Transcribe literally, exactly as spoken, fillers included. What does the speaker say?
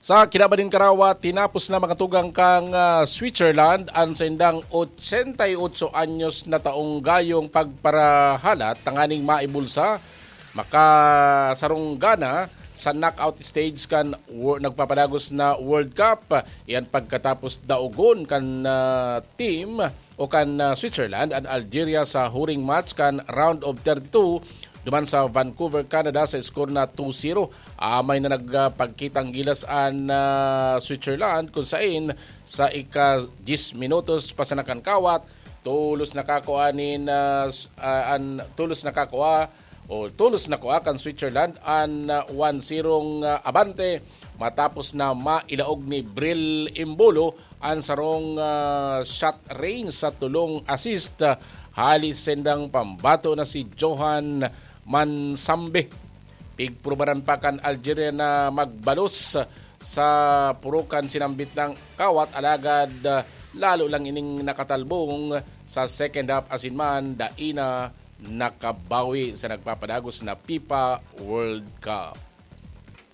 Sa kinaban nin karawat, tinapos na, mga tugang, kan, ah, Switzerland an saindang ochenta y ocho anyos na taong gayong pagparahalat tanganing maibulsa makasarunggana sa knockout stage kan wor-, nagpapadagos na World Cup. Iyan pagkatapos daogon kan, ah, team o kan, ah, Switzerland an Algeria sa huring match kan round of thirty-two duman sa Vancouver, Canada, sa score na two zero. Amay na nagpagkitang gilas an, ah, Switzerland, kun sain sa ika-diyes minutos pa sana kan kawat, tolos nakakua nin, ah, s-, ah, an tolos nakakua o tolos nakua kan Switzerland an, ah, one zero, ah, abante, matapos na mailaog ni Bril Embolo an sarong, ah, shot range sa tulong assist, ah, hali sendang pambato na si Johan Mansambe. Pigprubaran pa kan Algeria na magbalos sa purukan sinambit ng kawat, alagad, ah, lalo lang ining nakatalbong sa second half, asin man dai na nakabawi sa nagpapadagos na fifa World Cup.